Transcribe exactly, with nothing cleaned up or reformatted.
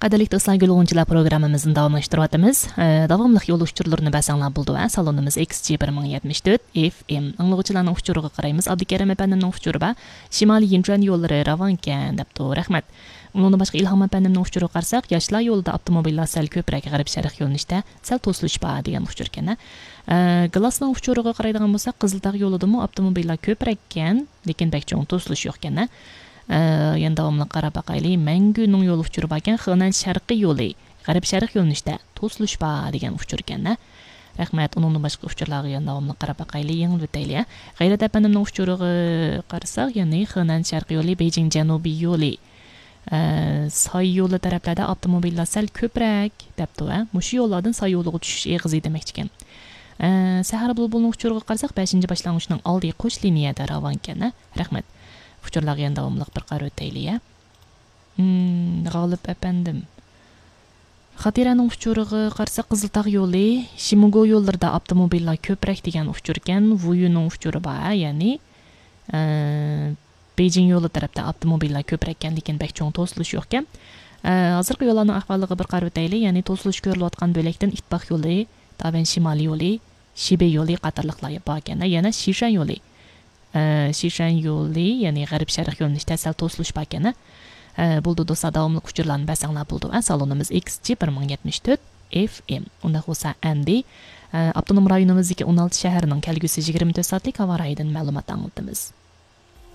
قەدىرلىك دوستلار، گۈل غۇنچىلار پروگراممىمىزنى داۋاملاشتۇرۇۋاتىمىز. ئە، داۋاملىق يول ئۇچۇرلىرىنى بەرسەڭلار بولىدۇ، ھە. سالونىمىز ئېكس جى بىر مىڭ يەتمىش تۆت ئېف ئېم. ئاڭلىغۇچىلارنىڭ ئۇچۇرىغا قارايمىز. ئابدۇكېرىم ئەپەندىمنىڭ ئۇچۇرى بار. شىمالىي يىنچۈەن يوللىرى راۋانكەن دەپتۇ. رەھمەت. ئۇنىڭدىن باشقا ئىلھام ئەپەندىمنىڭ ئۇچۇرىغا قارىساق، ياشلار يولىدا ئاپتوموبىللار سەل كۆپرەك، غەرب شەرق يۆنىلىشتە سەل توسۇلۇش بار دېگەن ئۇچۇركەن، ھە. ئە، گلاسنىڭ ئۇچۇرىغا قارايدىغان بولساق، قىزىلتاغ يولىدىمۇ ئاپتوموبىللار كۆپرەككەن، لېكىن بەك چوڭ توسۇلۇش يوقكەن، ھە. ئە، يەنە داۋاملىق قاراپ باقايلى. مەڭگۈنىڭ يول ئۇچۇرى باركەن، خېنەن شەرقىي يولى، غەرب شەرق يۆنىلىشتە توسۇلۇش بار دېگەن ئۇچۇركەن، ھە. رەھمەت. ئۇنىڭدىن باشقا ئۇچۇرلارغا يەنە داۋاملىق قاراپ باقايلى، يېڭىلىۋېتەيلى، ھە. غەيرەت ئەپەندىمنىڭ ئۇچۇرىغا قارىساق، يەنى خېنەن شەرقىي يولى، بېيجىڭ جەنۇبىي يولى، ئە، ساي يولى تەرەپلەردە ئاپتوموبىللار سەل كۆپرەك دەپتۇ، ھە. مۇشۇ يوللاردىن ساي يولىغا چۈشۈش ئېغىزى دېمەكچىكەن. ئە، سەھەر بۇلبۇلنىڭ ئۇچۇرىغا قارىساق، بەشىنچى باشلانغۇچنىڭ ئالدى قوش لىنىيەدە راۋانكەن، ھە. رەھمەت. ئۇچۇرلارغا يەنە داۋاملىق بىر قارىۋېتەيلى، ھە. مم، غالىپ ئەپەندىم. خاتىرەنىڭ ئۇچۇرىغا قارىساق، قىزىلتاغ يولى، شىموگو يوللىرىدا ئاپتوموبىللار كۆپرەك دېگەن ئۇچۇركەن. ۋۇيۈنىڭ ئۇچۇرى بار، يەنى، ئە، بېيجىڭ يولى تەرەپتە ئاپتوموبىللار كۆپرەككەن، لېكىن بەك چوڭ توسۇلۇش يوقكەن. ئە، ھازىرقى يوللارنىڭ ئەھۋالىغا بىر قارىۋېتەيلى. يەنى توسۇلۇش كۆرۈلۈۋاتقان بۆلەكتىن ئىتتىپاق يولى، دابەن شىمالىي يولى، شىبېي يولى قاتارلىقلار باركەن. يەنە شىشەن يولى، ئە، شىشەن يولى، يەنى غەرب شەرق يۆنىلىشتە سەل توسۇلۇش باركەن. ئە، بولدى دوستلار، داۋاملىق ئۇچۇرلارنى بەرسەڭلار بولىدۇ. ئە، سالونىمىز ئېكس جى بىر مىڭ يەتمىش تۆت ئېف ئېم. ئۇنداق بولسا ئەمدى، ئە، ئاپتونوم رايونىمىزدىكى ئون ئالتە شەھەرنىڭ كەلگۈسى يىگىرمە تۆت سائەتلىك ھاۋا رايىدىن مەلۇمات ئاڭلىتىمىز.